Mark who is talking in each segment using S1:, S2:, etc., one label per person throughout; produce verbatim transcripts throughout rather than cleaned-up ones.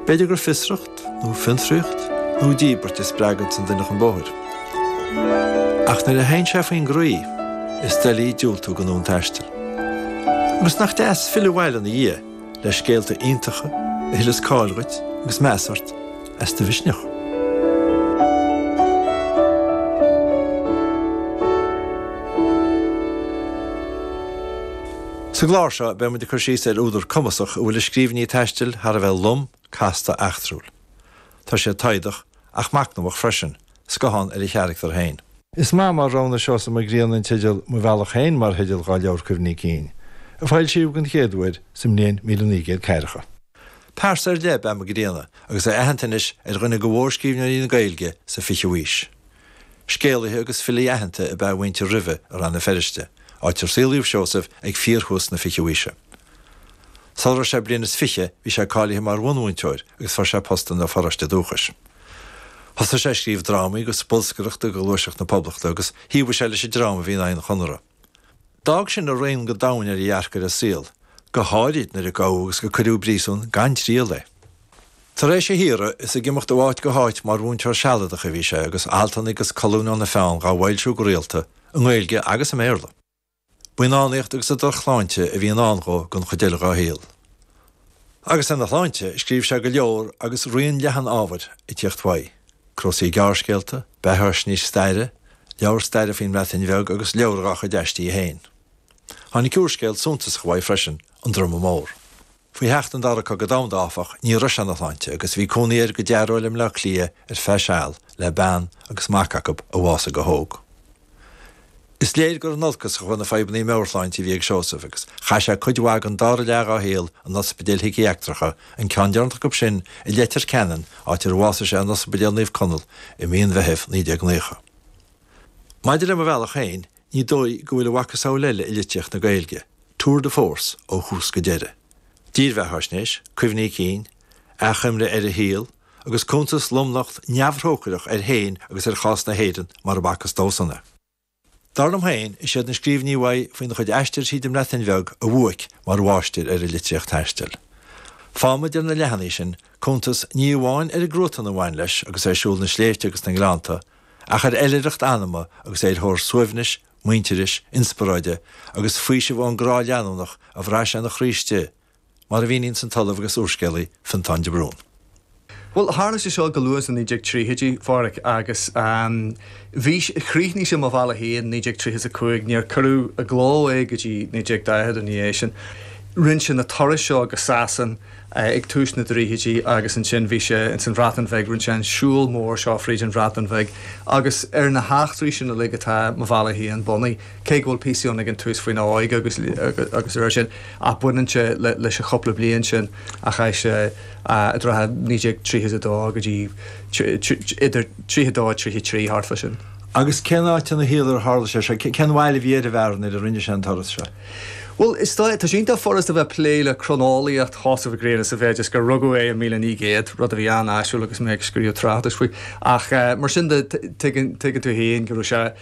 S1: B'fhéidir gur fiosracht, nó fiontraíocht, nó díbirt a spreagann an duine chun bóthair. Ach nuair a théann sé faoin gcroí, is doiligh diúltú don fhonn taistil. Agus nach deas filleadh abhaile ina dhiaidh le scéalta iontacha a thuilleas cáil dhuit agus meas ort as do mhisneach. Sa gclár seo beidh muid ag cur síos ar údar cumasach a bhfuil a scríbhinní taistil thar a bheith lom, casta, eachtrúil. Tá sé taghdach ach machnamhach freisin, scathán ar a charachtar féin. Is maith mar roghnaigh Seosamh Mac Grianna an teideal Mo Bhealach Féin mar theideal dhá leabhar cuimhní cinn, a foilsíodh den chéad uair sa mbliain míle naoi gcéad ceathracha. Pearsa ar leith ab ea Mac Grianna agus é aitheanta anois ar dhuine de mhórscríbhneoirí na Gaeilge sa fichiú haois. Scéalaithe agus filí aitheanta ab ea a mhuintir roimhe i Rann na Feirste, áit ar saolaíodh Seosamh ag fíorthús na fichiú haoise. Sula raibh sé bliain is fiche bhí sé cáilithe mar bhunmhúinteoir agus fuair sé post ina pharóiste dúchais. Thosaigh sé ag scríobh drámaí agus bolscaireachta do Ghluaiseacht na Poblachta agus thaobhaigh sé leis an dream a bhí in aghaidh an Chonartha. D'fhág sin a rian go domhain ar a dhearcadh ar an saol, go háirid nuair a gabhadh agus go cuireadh i bpríosún gan triail é. Tar éis a shaoradh, is ag imeacht ó áit go háit mar mhúinteoir sealadach a bhí sé agus altanna agus colúin óna pheann dhá bhfoilsiú go rialta, i nGaeilge agus i mBéarla. B'í an fhánaíocht agus an drochshláinte a bhí i ndán dhó don chuid eile dhá shaol. Agus ina shláinte, scríobh sé go leor agus raon leathan ábhair ag tíocht uaidh, cnuasaigh gearrscéalta, beathaisnéis staire, leabhar staire faoin mBreatain Bheag agus leabhar dhá chuid aistí féin. Tháinig úrscéal suntasach uaidh freisin, An Druma Mór. Faoi theacht an Dara Cogadh Domhanda, áfach, ní raibh sé ina shláinte agus bhí cónaí air go dearóil i mBleá Cliath ar feadh seal le bean agus mac acu a bhásaigh go hóg. Is léir gur in olcas a chuaigh na fadhbanna meabhairshláinte a bhí ag Seosamh agus chaith sé cuid mhaith den dara leath dá shaol in ospidéil shíciatraice, an ceann deireanach acu sin i Leitir Ceanainn, áit ar bhásaigh sé in Ospidéal Naomh Conall i mí an Mheithimh naoi déag naocha. Maidir le Mo Bhealach Féin, ní dóigh go bhfuil a mhacasamhail eile i litríocht na Gaeilge, tour de force ó thús go deireadh. Dírbheathaisnéis, cuimhní cinn, achoimre ar a shaol, agus cuntas lomnocht neamhthrócaireach air féin agus ar chás na hÉireann mar a b'fhacthas dósan é. Dar liom féin, is iad na scríbhinní uaidh faoina chuid aistir tríd an mBreatain Bheag a bhuaic mar mháistir ar an litríocht taistil. Faighimid ar na leathanaigh sin cuntas ní amháin ar an gcruatan a bhain leis agus é ag siúl na sléibhte agus na ngleannta, ach ar oilithreacht anama agus é ar thóir suaimhnis, muintearais, inspioráide agus faoisimh ón gcrá leanúnach a bhraith sé ina chroí istigh, mar a mhíníonns an t-ollamh agus úrscéalaí Fionntán de Brún.
S2: Bhuel, tharla sé seo go luath sna naoi déag tríochaidí, a Pháraic, agus bhí, chríochnaigh sé Mo Bhealach Féin naoi déag tríocha is a cúig, níor cuireadh i gcló é go dtí naoi déag daichead ina dhiaidh sin. Rinne sé na turais seo go Sasain ag tús na dtríochaidí agus ansin bhí sé ins an Bhreatain Bheag, rinne sé an siúl mór seo fríd an Bhreatain Bheag agus ar na heachtraí sin uilig atá Mo Bhealach Féin bunaithe. Cé go bhfuil píosaí ann ag an tús faoina óige agus agus ar sin, ach baineann sé leis an chúpla bliain sin a chaith sé i dtrátha naoi déag tríocha is a dó go dtí idir tríocha a dó tríocha a trí, thart fá sin.
S1: Agus cén áit ina shaol ar tharla sé seo? Cén bhail a bhí ar an bhfear nuair a rinne sé an turas seo?
S2: Bhuel, is dóigh, tá sé iontach furast a bheith ag plé le croineolaíocht Sheosaimh Mhic Grianna sa mhéid is gur rugadh é i míle naoi gcéad, rud a bhí an-áisiúil agus mé ag scríobh tráchtais faoi. Ach mar sin de, tuigeann tú féin go raibh sé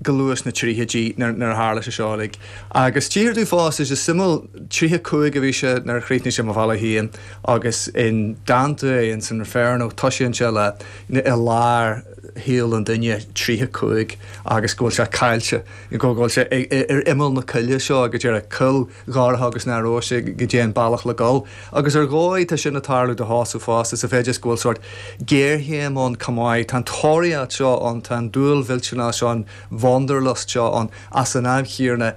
S2: go luath sna tríochaidí nuair a tharla sé seo uilig. Agus tchíthear domh fosta, is suimiúil, tríocha cúig a bhí sé nuair a chríochnaigh sé Mo Bhealach Féin agus i ndánta uaidh in san Inferno toisíonn sé le i lár shaol an duine, tríocha cúig, agus go bhfuil sé caillte, go bhfuil sé ar imeall na coille seo, go díreach, coill dhorcha agus nach raibh a fhios goidé an bealach le dul. Agus ar dhóigh tá sin ag tarlú do Sheosamh fosta, sa mhéid is go bhfuil sórt géarchéim ann chomh maith. Tá an tóraíocht seo ann, tá an dúil mhillteanach seo, an wanderlust seo ann, ach san am chéanna,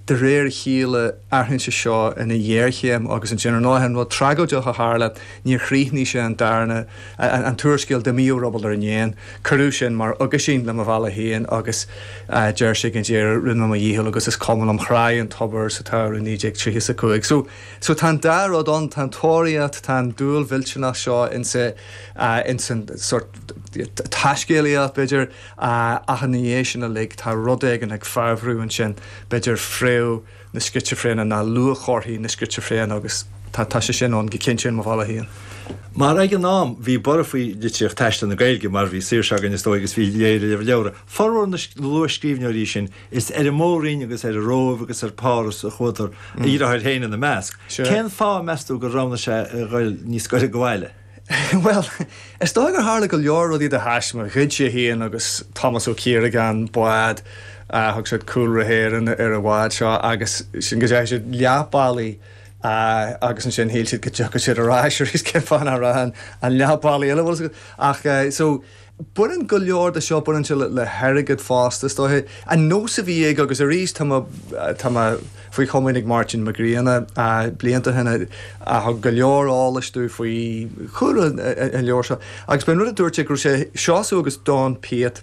S2: de réir a chéile, athraíonn sé seo ina ghéarchéim agus ansin, ar ndóigh, an rud tragóideach a tharla, níor chríochnaigh sé an darna, an t-úrscéal D'imigh Ó Ruball ar an Éan. Cuireadh sin mar aguisín le Mo Bhealach Féin agus deir sé ag an deireadh, rinne mé mo dhícheall agus is cuma liom, thráigh an tobar sa tsamhradh naoi déag tríocha is a cúig. So, so tá an dá rud ann, tá an tóraíocht, tá an dúil mhillteanach seo insa, ins an sórt taiscéalaíocht, b'fhéidir, ach ina dhiaidh sin uilig tá rud éigin ag fabhrú ansin, b'fhéidir fréamh na scitsifréine ná luathchomharthaí na scitsifréine agus tá tá sé sin ann go cinnte in Mo Bhealach Féin.
S1: Mar ag an am bhí borradh faoi litríocht taistil na Gaeilge mar bhí saoirse againn is dóigh agus bhí léamh leabhra. Formhór na luathscríbhneoirí sin is ar an Mór-Roinn agus ar an Róimh agus ar Pháras a chuadar, a dheartháir féin ina measc. Cén fáth meas tú gur roghnaigh sé a dhul níos gaire do bhaile?
S2: Bhuel, is dóigh gur tharla go leor rudaí de thaisme, ghoid sé féin agus Tomás Ó Ciaragáin bád, thug siad Cúlra hÉireann ar an bhád seo agus sin go ndeachaigh siad leath bealaigh agus ansin shíl siad go dtiocfadh siad ar ais arís cén fáth nach raibh an leath bealaigh eile bhfuil ach so Baineann go leor de seo, baineann sé le hairgead fosta, is dóiche. An nós a bhí aige, agus arís tá mé, tá mé faoi chomaoin ag Máirtín Mac Grianna blianta ó shin a thug go leor eolais domh faoi chúlra an leabhair seo, agus b'é an rud a dúirt sé go raibh sé, Seosamh agus Donn Piatt,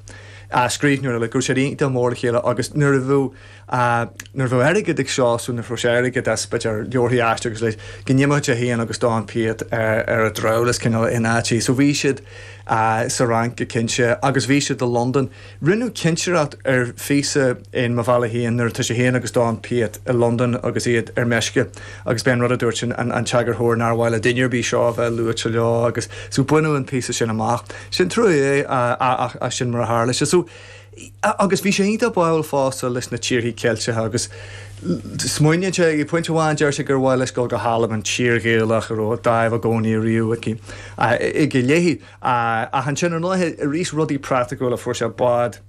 S2: scríbhneoir eile, go raibh siad iontach mór le chéile agus nuair a bheadh, nuair a bheadh airgead ag Seosamh, nuair a fuair sé airgead as, b'fhéidir, leabharthaí a aistriú agus a leithéid, go n-imeodh sé féin agus Donn Piatt ar ar an drabhlás cineál in áiteachaí. So bhí siad sa Fhrainc go cinnte agus bhí siad i Londain. Rinneadh cinsireacht ar phíosa in Mo Bhealach Féin nuair atá sé féin agus Donn Piatt i Londain agus iad ar meisce agus b'é an rud a dúirt an an t-eagarthóir nár mhaith le duine ar bith seo a bheith luaite leo agus so baineadh an píosa sin amach. Sin trua é ach ach sin mar a tharla sé. So Agus bhí sé iontach báúil fosta leis na tíorthaí Ceilteacha agus smaoiníonn sé, ag pointe amháin deir sé gur mhaith leis dul go hAlbain, tír Ghaelach a raibh dáimh i gcónaí ariamh aici, aige léi. Ach ansin ar ndóigh arís rudaí praiticiúla, fuair sé bád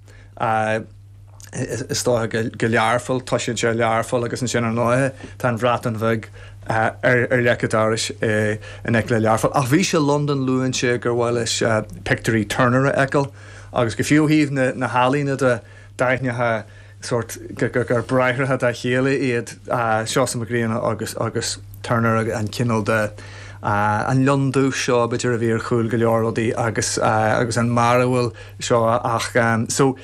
S2: is dócha go Learpholl, toisíonn sé i Learpholl agus ansin ar ndóigh tá an Bhreatain Bheag ar leic an dorais in aice le Learpholl. Ach bhí sé i Londain, luann sé gur mhaith leis pictiúirí Turner a fheiceáil. Agus go fiú ó thaobh na healaíne de, d'aithneofá sórt gur bráithreacha dá chéile iad Seosamh Mac Grianna agus agus Turner, an cineál de, an lionn dubh seo b'fhéidir a bhí ar chúl go leor rudaí agus agus an mearbhall seo ach so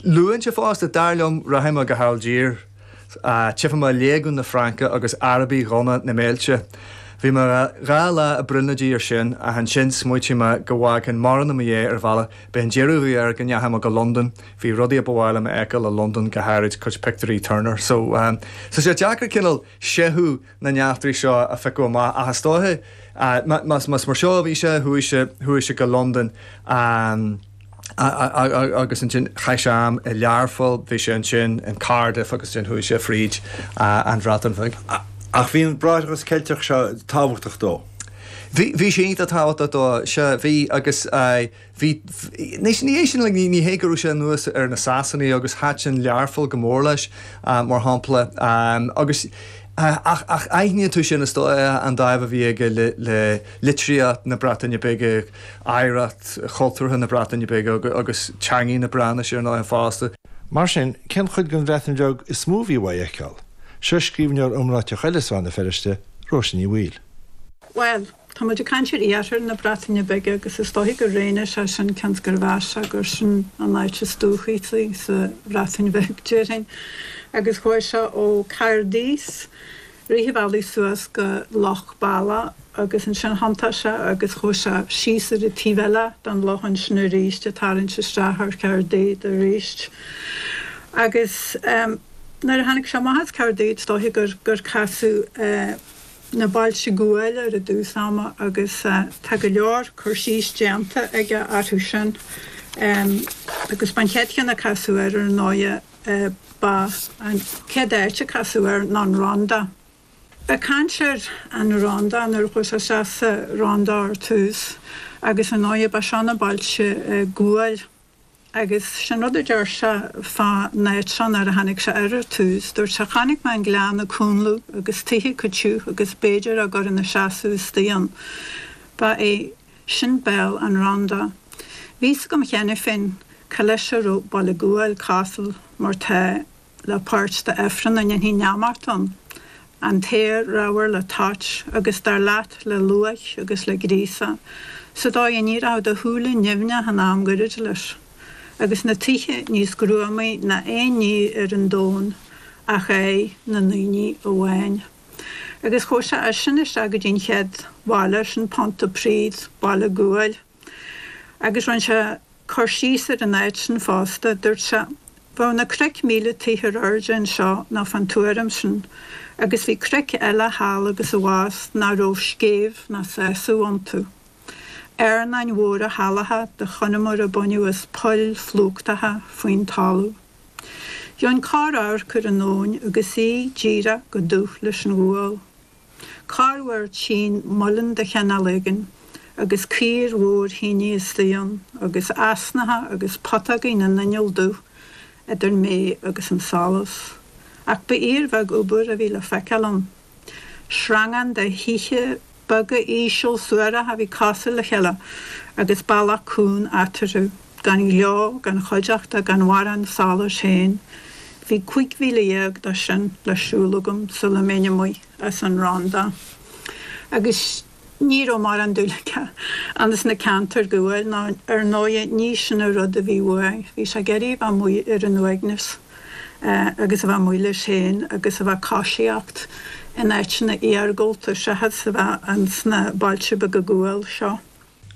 S2: luann sé fosta, dar liom, rachaidh mé go hAilgír. Tchífidh mé léagún na Fraince agus Arabaigh dhonna na mbéilte. Bhí mé dhá lá ag brionglóidí air sin ach ansin smaoitigh mé go bhfágfainn mórán i mo dhiaidh ar an bhealach. B'é an deireadh a bhí air go ndeachaigh mé go Londain. Bhí rudaí a ba mhaith liom a fheiceáil i Londain, go háirid cuid pictiúirí Turner. So, tá sé deacair cineál seicheamh na n-eachtraí seo a phiocadh amach ach is dóiche, más mar seo a bhí sé, chuaigh sé, chuaigh sé go Londain. Agus ansin chaith sé am i Learpholl, bhí sé ansin in Cardiff agus ansin chuaigh sé fríd an Bhreatain Bheag.
S1: Ach bhí an Bráithreachas Ceilteach seo tábhachtach dó.
S2: Bhí, bhí sé iontach tábhachtach dó, sea, bhí agus bhí, anois ní hé sin, like, ní hé go raibh sé anuas ar na Sasanaigh agus thaitin Learpholl go mór leis, mar shampla, agus Ach ach aithníonn tú sin, is dóigh, an dáimh a bhí aige le le litríocht na Breataine Bige, oidhreacht chultúrtha na Breataine Bige agus teangaidh na Breatnaise ar ndóigh fosta.
S1: Mar sin, cén chuid den Bhreatain Bheag is mó a bhí uaidh a fheiceáil? Seo scríbhneoir iomráiteach eile as Rann na Feirste, Róise Ní Bhaoill.
S3: Bhuel, tá muid ag caint ar iarthar na Breataine Bige agus is dóichí gur roghnaigh sé sin cionn is gur mheas sé gur sin an áit is dúchasaí sa Bhreatain Bheag, déarfainn. Agus chuaigh sé ó Caerdydd, rith an bhealaigh suas go Loch Bala agus ansin thiontaigh sé agus chuaigh sé síos ar an taobh eile den loch ansin arís, ag tarraingt isteach ar Caerdydd arís. Agus nuair a tháinig sé amach as Caerdydd, is dóichí gur gur casadh na bailte guail air i dtús ama agus tá go leor cur síos déanta aige orthu sin. Agus b'an chéad cheann a casadh air ar ndóighe ba an chéad áit a casadh air ná an Rhondda. Ag caint ar an Rhondda nuair a chuaigh sé isteach sa Rhondda ar tús agus ar ndóighe ba seo na bailte guail. Agus sin rud a deir sé fá an áit seo nuair a tháinig sé air ar tús, dúirt sé, Chonaic mé an gleann ag cúnlú agus tithe acu tiubh agus b'fhéidir á gcur ina seasamh istigh ann. Ba é sin béal an Rhondda. Bhí fhios agam cheana féin cá leis a raibh Baile Guail cosúil mar tá le páirt d'ifreann a ndéanfaí neamart ann, an t-aer ramhar le toit agus dar leat le luaith agus le gríosadh, sa dóigh a ndíreochadh do shúile nimhneach in am gairid leis, agus na tithe níos gruamaí ná aon ní ar an domhan ach aghaidh na ndaoine amháin. Agus chuaigh sé as sin isteach go dtí an chéad bhaile, sin Pontypridd, baile guail, agus rinne sé cur síos ar an áit sin fosta. Dúirt sé, Bheadh na cnoic míle tithe ar airde anseo nó fán tuairim sin, agus bhí cnoic eile thall agus abhus nach raibh scéimh ná sásamh iontu. Airneáin mhóra shalacha de Chonamara a baineadh as poill phlúchtacha faoin talamh. Gheobhainn corr-amharc ar an abhainn agus í díreach go dubh leis an ghual. Corruair tchínn muileann de chineál éigin agus caor mhór thine istigh ann agus easnacha agus putógaí na n-inneall dubh idir mé agus an solas. Ach ba fhíorbheag obair a bhí le feiceáil ann. Sreangán de thithe beaga íseal suaracha a bhí cosúil le chéile agus bealach cúng eatarthu, gan ghleo, gan chuideachta, gan mhórán solais féin. Bhí cúig mhíle dhéag de sin le siúl agam sula mbeinn amuigh as an Rhondda. Agus ní raibh mórán dúil aige ins na ceantair ghuail ná ar ndóighe ní sin an rud a bhí uaidh. Bhí sé ag iarraidh a bheith amuigh ar an uaigneas agus a bheith amuigh leis féin agus a bheith ag coisíocht in áiteanna iargúlta seachas a bheith ins na bailte beaga guail seo.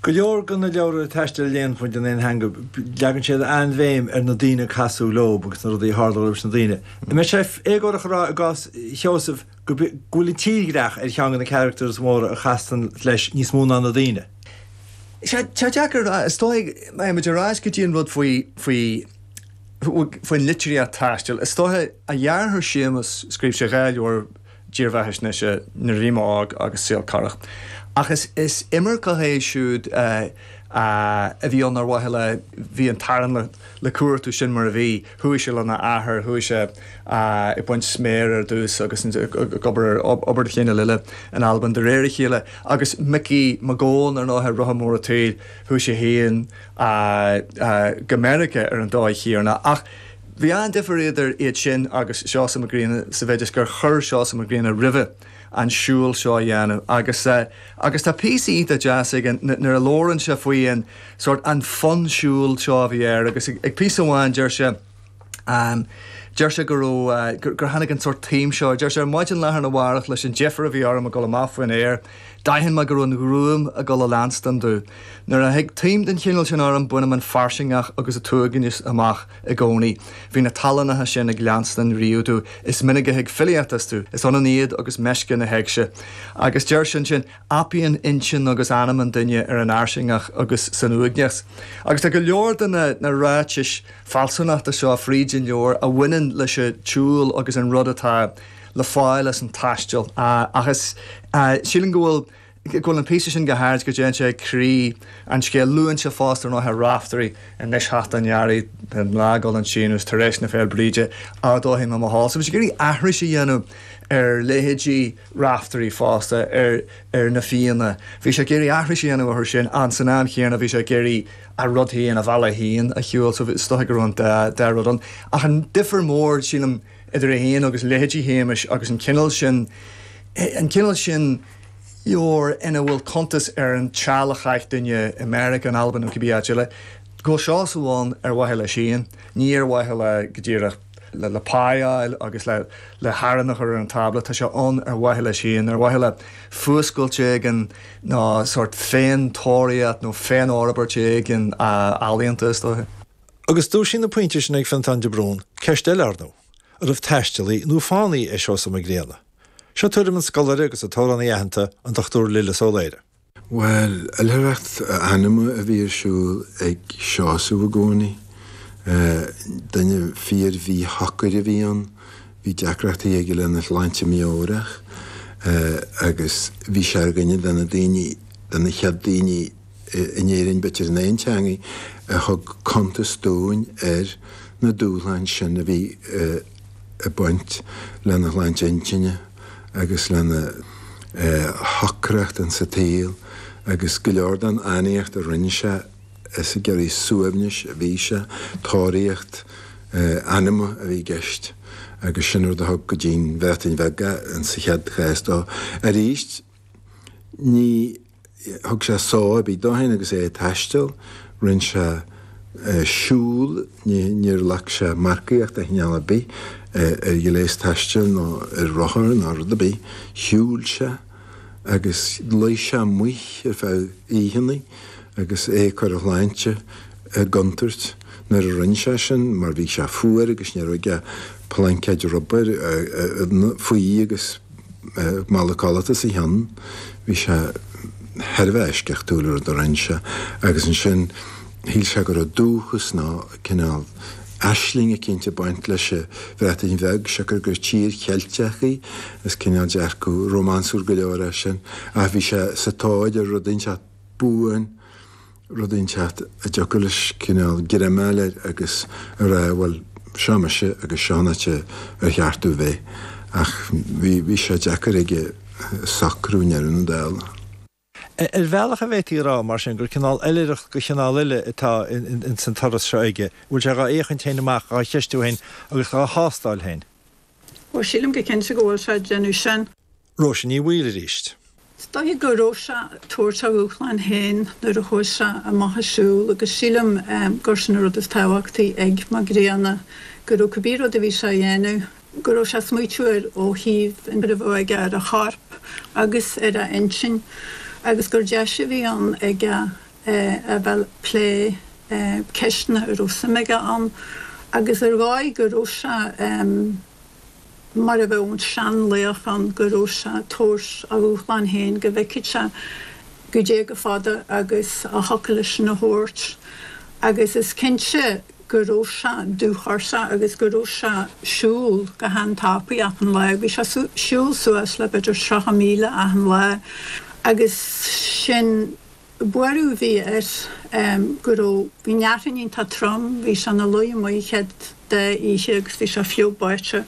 S1: Go leor de na leabhra taistil a léann muid in aon theanga, leagann siad an-bhéim ar na daoine a casadh leo agus na rudaí a tharla leis na daoine. An mbeadh sé éagórach a rá i gcás Sheosaimh go bhfuil an tírdhreach ar cheann de na characters móra a chasann leis níos mó ná na daoine?
S2: Sé deacair, is dóigh, má muid ar ais go dtí an rud faoi faoi faoin litríocht taistil, is dóiche a dheartháir Séamus, scríobh sé dhá leabhar dírbheathaisnéise Nuair a Bhí Mé Óg agus Saol Corrach. Ach is is imirceach é siúd a bhí ann ar mhaithe le bhí an t-arán le le cuartú sin mar a bhí. Chuaigh sé lena athair, chuaigh sé ag baint sméar ar dtús agus ag obair obair de chineál eile in Albain de réir a chéile. Agus Micí Mac Gabhann ar ndóigh Rotha Mór an tSaoil, chuaigh sé féin go Meiriceá ar an dóigh chéanna. Ach bhí an-difear idir iad sin agus Seosamh Mac Grianna sa mhéid is gur chuir Seosamh Mac Grianna roimhe an siúl seo a dhéanamh agus agus tá píosa iontach deas aige nuair a labhrann sé faoi an sórt an fonn siúil seo a bhí air agus ag píosa amháin deir sé deir sé go raibh gur tháinig an sórt taom seo deir sé ar maidin lá arna mhárach leis an deifir a bhí orm ag dul amach faoin aer D'aithin mé go raibh an ghruaim ag dul a leanstan domh. Nuair a thig taom den chineál sin orm bainim an fairsingeacht agus an t-uaigneas amach i gcónaí. Bhí na tallannacha sin ag leanstan riamh domh. Is minic a thig filíocht astu. Is ionann iad agus meisce na héigse. Agus deir sé ansin, apaíonn intinn agus anam an duine ar an fhairsingeacht agus san uaigneas. Agus tá go leor de na na ráitis fealsúnachta seo fríd an leabhar a bhaineann leis an tsiúl agus an rud atá le fáil as an taisteal. Ach is sílim go bhfuil go bhfuil an píosa sin go háirid go dtéann sé ag croí an scéil. Luann sé fosta ar ndóigh Raiftearaí anois theacht an earraigh, an lá ag dul an síneadh tar éis na Féile Bríde, ardóidh mé mo shál. So bhí sé ag iarraidh aithris a dhéanamh ar leithéidí Raiftearaí fosta, ar ar na Fianna. Bhí sé ag iarraidh aithris a dhéanamh orthu sin and san am chéanna bhí sé ag iarraidh a rud féin, a bhealach féin a shiúl. So is dóigh go raibh an dá dá rud ann. Ach an difear mór, sílim, idir é féin agus leithéidí Shéamais agus an cineál sin, an cineál sin leabhar ina bhfuil cuntas ar an tseal a chaith duine i Meiriceá, in Albain nó cibé áit eile, go bhfuil Seosamh ann ar mhaithe leis féin, ní ar mhaithe le, go díreach, le, le pá a fháil agus le, le harán a chur ar an tábla, tá sé ann ar mhaithe leis féin, ar mhaithe le fuascailt éigin nó sórt féin-tóraíocht nó féin-fhorbairt éigin ealaíonta, is dóiche.
S1: Agus dúisíonn na pointí sin ag Fionntán de Brún ceist eile, ar ndóigh. An raibh taistealaí nó fánaí é Seosamh Mac Grianna? Seo tuairim an scoláire agus an t-amhránaí aitheanta, an Dochtúir Lillis Ó Laoire.
S4: Bhuel, oilithreacht anama a bhí ar siúl ag Seosamh i gcónaí. Duine fíor-mhíshocair a bhí ann. Bhí deacrachtaí aige lena shláinte meabhrach agus bhí sé ar dhuine de na daoine, de na chéad daoine in Éirinn, b'fhéidir in aon teangaidh, a thug cuntas dúinn ar na dúshláin sin a bhí ag baint lena shláinte intinne agus lena shocracht insa tsaol agus go leor den fhánaíocht a rinne sé is ag iarraidh suaimhnis a bhí sé, tóraíocht anama a bhí i gceist agus sin rud a thug go dtí'n Bhreatain Bheag é insa chéad chás dó. Arís, ní thug sé só ar bith dó féin agus é ag taisteal, rinne sé siúl, níor ghlac sé marcaíocht de chineál ar bith ar ghléas taistil nó ar rothar ná rud ar bith, shiúil sé agus luigh sé amuigh ar feadh oícheanna agus é ag cur a shláinte i gcontúirt nuair a rinne sé sin mar bhí sé fuar agus ní raibh aige plaincéid rubair faoi agus mála codlata os a chionn. Bhí sé thar a bheith eisceachtúil an rud a rinne sé agus ansin shíl sé go raibh dúchas nó cineál aisling eicínt ag baint leis an Bhreatain Bheag, siocair gur tír Cheilteach í, is cineál dearcadh rómánsúil go leor é sin, ach bhí sé sa tóir ar rud inteacht buan, rud inteacht a dtiocfadh leis cineál greim a fháil air agus a rá, bhuel, seo mise agus seo an áit ar cheart domh bheith. Ach bhí, bhí sé deacair aige socrú i ndeireadh na dála.
S1: Ar bhealach an bhféadfaí a rá, mar sin, gur cineál oilithreacht de chineál eile atá ins an turas seo aige, bhfuil sé dhá fhéachaint féin amach, dhá cheistiú féin agus dhá thástáil féin?
S3: Ó, sílim go cinnte go bhfuil sé ag déanamh sin.
S1: Róise Ní Bhaoill arís.
S3: Is dóiche go raibh sé ag tabhairt a dhúshláin féin nuair a chuaigh sé amach ag siúl agus sílim gur sin an rud is tábhachtaí ag Mac Grianna, go raibh cibé rud a bhí sé a dhéanamh, go raibh sé ag smaoitiú air ó thaobh an a bheadh aige ar a chorp agus ar a intinn agus gur deis a bhí ann aige a bheith ag plé ceisteanna a raibh suim aige ann agus ar dhóigh go raibh sé mar a bheadh an seanlaoch ann go raibh sé ag tabhairt a dhúshláin féin go bhfeicfeadh sé goidé chomh fada agus a thiocfadh leis sin a thabhairt agus is cinnte go raibh sé dúchosach agus go raibh sé ag siúl go han-tapaidh achan lá. Bhí sé ag siúl suas le b'fhéidir tríocha míle achan lá agus sin buaireamh a bhí air go raibh, bhí an fhearthainn iontach trom, bhí sé ina luí amuigh an chéad dá oíche agus bhí sé fliuch báite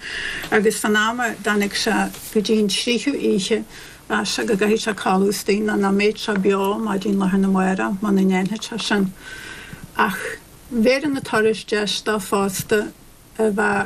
S3: agus fán am a dtáinig sé go dtí an tríú oíche mheas sé go gcaithfeadh sé codladh istigh nó nach mbeadh sé beo maidin lá arna mhárach muna ndéanfadh sé sin. Ach bhéarfaidh na turais deis dó fosta a bheith